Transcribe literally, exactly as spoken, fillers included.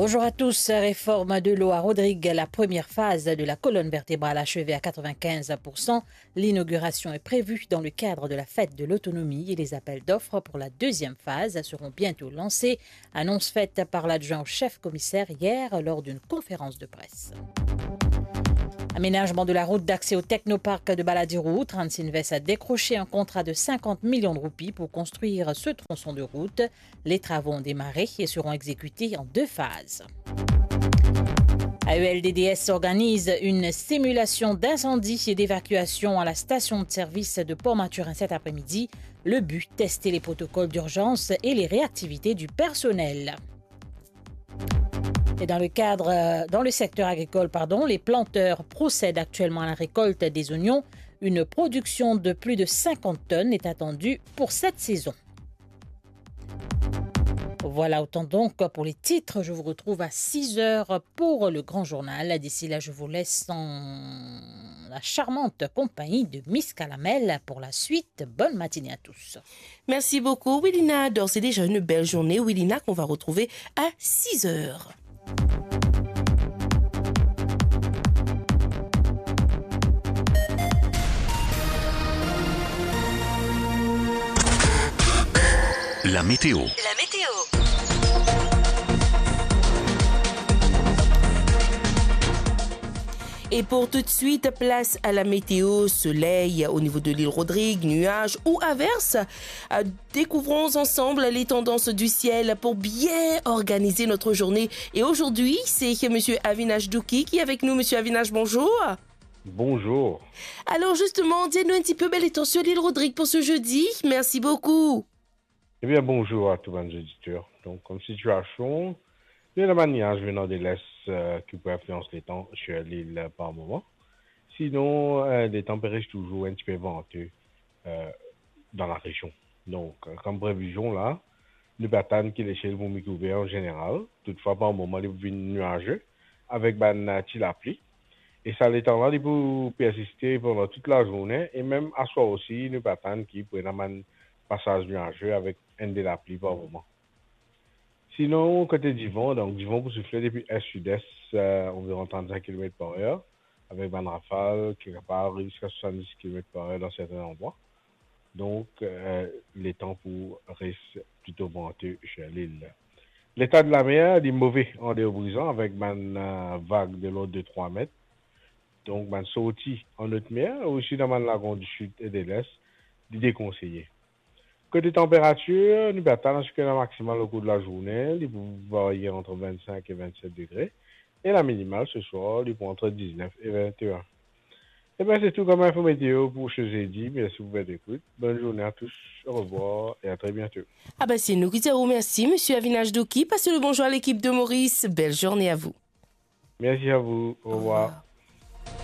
Bonjour à tous. Réforme de l'eau à Rodrigues, la première phase de la colonne vertébrale achevée à quatre-vingt-quinze pour cent. L'inauguration est prévue dans le cadre de la fête de l'autonomie et les appels d'offres pour la deuxième phase seront bientôt lancés. Annonce faite par l'adjoint au chef commissaire hier lors d'une conférence de presse. Aménagement de la route d'accès au technoparc de Baladiro. Transsinvest a décroché un contrat de cinquante millions de roupies pour construire ce tronçon de route. Les travaux ont démarré et seront exécutés en deux phases. A E L D D S organise une simulation d'incendie et d'évacuation à la station de service de Port-Mathurin cet après-midi. Le but, tester les protocoles d'urgence et les réactivités du personnel. Et dans le cadre, euh, dans le secteur agricole, pardon, les planteurs procèdent actuellement à la récolte des oignons. Une production de plus de cinquante tonnes est attendue pour cette saison. Voilà autant donc pour les titres. Je vous retrouve à six heures pour le grand journal. D'ici là, je vous laisse en la charmante compagnie de Miss Kalamel pour la suite. Bonne matinée à tous. Merci beaucoup, Wilina. Alors, c'est déjà une belle journée, Wilina, qu'on va retrouver à six heures. La météo. La météo. Et pour tout de suite, place à la météo. Soleil au niveau de l'île Rodrigue, nuages ou averses. Euh, découvrons ensemble les tendances du ciel pour bien organiser notre journée. Et aujourd'hui, c'est monsieur Avinash Douki qui est avec nous. Monsieur Avinash, bonjour. Bonjour. Alors justement, dis-nous un petit peu, ben, les tendances sur l'île Rodrigue pour ce jeudi. Merci beaucoup. Ebien, bonzour a tou bann zoditer. Donk, kom sitiasion, nou ena bann niaz venan de l'est, eh, ki pou inflians letan sir lil par moman. Sinon, eh, letan pe res touzour enn tipe vante, eh, dan larezion. Donk, eh, kom previzion la, nou pe atann ki lesiel pou mikouver an zeneral. Toutfwa, par moman, li pou vinn niaze avek bann, eh, ti lapli. E sa letan la, li pou persiste pandan tou lazourne e mem aswar osi, nou pe atann ki pou ena bann pasaz niaze avek enn de lapli par moman. Sinon, kote divan, donk divan pou soufle depi est-sud-est, eh, anviron trannsenk kilomet par er, avek bann rafal ki kapav ariv ziska swasanndis kilomet par er dan serten landrwa. Donk, eh, letan pou res plito vante sir lil. Leta de lamer, li move an deor Brizan avek bann, eh, vag de lord de trwa met. Donk, bann sorti an otmer, osi dan bann lagon disid e de lest, li dekonseye. Kote tanperatir, nou pe atann aske la maksimal okour de lazourne, li pou varye ant vennsenk e vennset degre, e la minimal seswar, li pou ant diznef e vinte-enn. Ebien, se tou kom info meteo pou se zedi. Mersi pou vot ekout. Bonn zourne a tous. Orevwar e a tre biento. Ah ben, c'est nous qui disons merci, monsieur Avinash Douki. Passez le bonjour à l'équipe de Maurice. Belle journée à vous. Merci à vous. Au revoir. Au revoir.